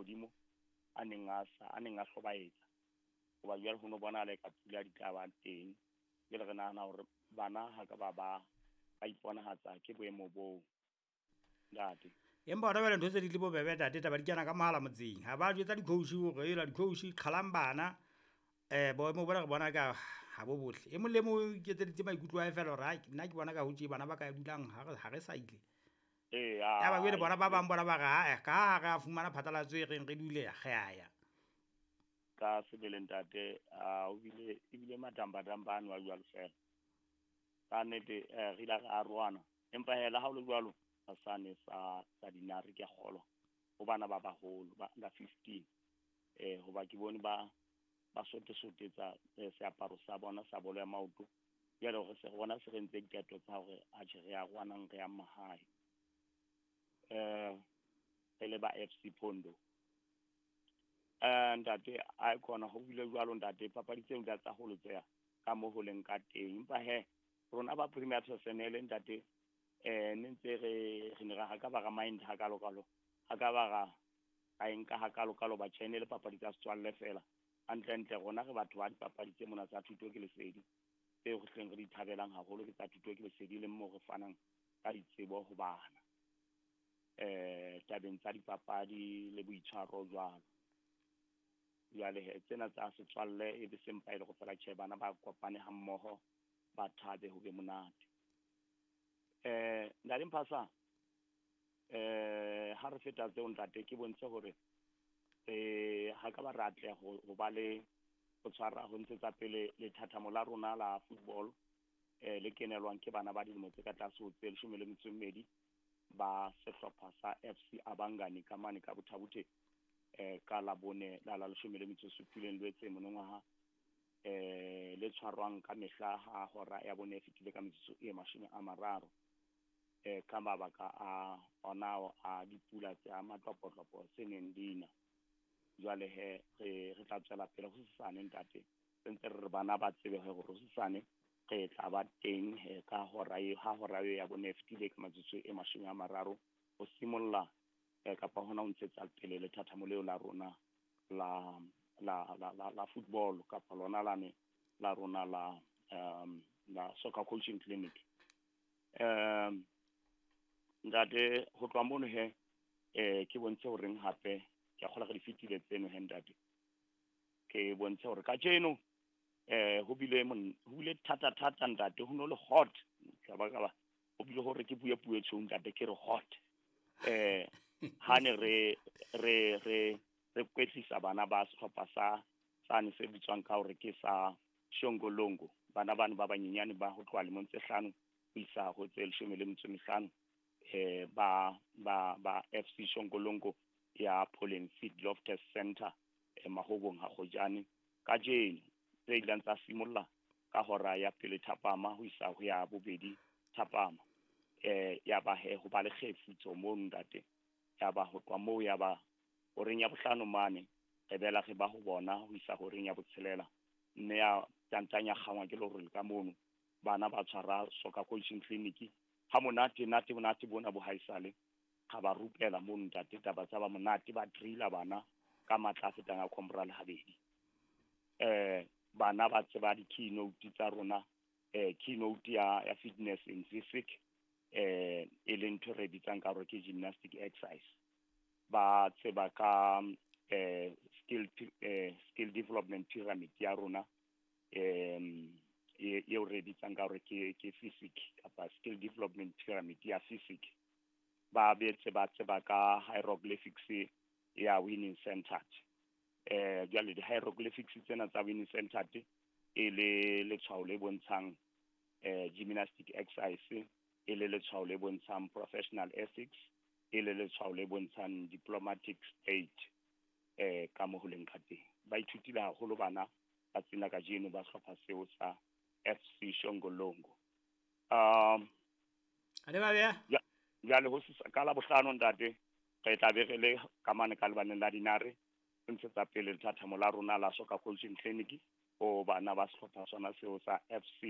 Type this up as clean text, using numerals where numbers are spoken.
mahodimo a neng a sa a neng a hlobaetsa. Hoba jwale ho no bonahala eka pula di tla ba teng. Jwale re nahana hore bana ha ka ba ba ba iponahatsa ke boemo boo, ntate. Empa hona jwale ntho tse di le bobebe, ntate. Taba di kena ka mohala motseng, ha ba jwetsa di-coach hore ela di-coach qhalang bana. Boemo bona re bona ka ha bo botle, e mong le mong o iketseditse maikutlo a hae fela hore hai, nna ke bona ka ho tje bana ba ka dulang ha re sa ile. Ee. Ya ba jwale bona ba bang bona ba re ae, ka ha re a fumana phatlalatso e reng re dule, re a ya. Ka sebele, ntate, a o bile ebile matambadamba ano a jwalo fela. Ka nnete, re ile ra arohana, empa hee le ha ho le jwalo sane sa Dinare, ke a kgolwa ho bana ba baholo ba under 15, hoba ke bone ba sote-sotetsa seaparo sa bona sa bolo ya maoto. Jwale re se rona se re entse diqeto tsa hore atjhe, re arohanang, re yang mahae, re le ba FC Pondo. Ntate, a khona ho bile jwalo, ntate. Papadi tseo di tsa holotseha ka mo ho leng ka teng, empa he rona ba premier personnel, ntate, ne ntse re ne ra ha ka ba ra mind hakalo kalo, ha ka ba ra e nka hakalo kalo ba tjhene le papadi tsa setswalle fela. Hantle ntle rona re batho ba dipapadi tse mona tsa thuto ke lesedi, tseo re hleng re di thabelang haholo ke tsa thuto ke lesedi, le mo re fanang ka ditsebo ho bana tabeng tsa dipapadi le boitshwaro jwalo. Jwale he tsena tsa setswalle e be sempa e le go fela, tjhe, bana ba kopane ha mmoho, ba thabe, ho be monate. Ntate Mphasa, ha re feta tseo, ntate, ke bontshe hore ha ka ba re atleha ho ba le ho tshwara ho ntshetsa pele lethathamo la rona la football, le kenelwang ke bana ba dilemo tse ka tlase ho tse 12 ba sehlopha sa FC Abangani ka mane ka Botha-Bothe, ka Labone la 17 Lwetse monongwaha, le tshwarwang ka mehla ha hora ya bone e fetile ka metsotso e 30, ka mabaka a ona a dipula tsa matlopotlopo tse neng dina. Jwale he re tla tswela pele ho sesane, ntate, re ntse re re bana ba tsebe hore ho sesane re tla ba teng he ka hora e ha hora eo ya bone e fetile ka metsotso e 30 ho simolla kapa hona ho ntshetsa pele lethathamo leo la rona la football kapa lona lane la rona la soccer coaching clinic. Ntate, ho tloha mono he, ke bontshe horeng hape ke a kgola re di fetile tseno he, ntate. Ke bontshe hore kajeno ho bile thata thata, ntate, ho no le hot ka ba ka ba ho bile hore ke bue puo e tshweu, ntate, ke re hot ha ne re kwetlisa bana ba sehlopha sa sane se bitswang ka hore ke sa Shongolongo, bana bano ba banyenyane ba ho tloha lemong tse 5 ho isa ho tse 15, ba FC Shongolongo ya Pollen Feed Loftus Center, Mahobong ha Kgojane, kajeno tse ileng tsa simolla ka hora ya pele thapama ho isa ho ya bobedi thapama. Ya ba he ho ba le kgefutso mono, ntate. Ya ba ho tloha moo ya ba horeng ya bohlano mane re bela re ba ho bona ho isa horeng ya botshelela, mme ya tantanya kgangwa ke lerole ka mono. Bana ba tshwara soccer coaching clinic ha monate nate monate bona bo haesale ga ba rupela mono, ntate. Taba tsa ba monate, ba drilla bana ka matla a fetang a comrade habedi. Bana ba tseba di-keynote tsa rona, keynote ya fitness in physics, e leng ntho re bitsang ka hore ke gymnastic exercise. Ba tseba ka skill development pyramid ya rona, eo re bitsang ka hore ke physics kapa skill development pyramid ya physics. Ba betse ba tseba ka hieroglyphics ya winning centered. Jwale di-hieroglyphics tsena tsa winning centered e le letshwao le bontshang gymnastic exercise, e le letshwao le bontshang professional ethics, e le letshwao le bontshang diplomatic state, ka mo ho leng ka teng. Ba ithutile haholo bana ba tsena kajeno ba sehlopha seo sa FC Shongolongo. A le ba beha? Jwale ho ka Labohlano, ntate, re tla be re le ka mane ka lebaleng la Dinare, re ntshetsa pele lethathamo la rona la soccer coaching clinic ho bana ba sehlopha sona seo sa FC.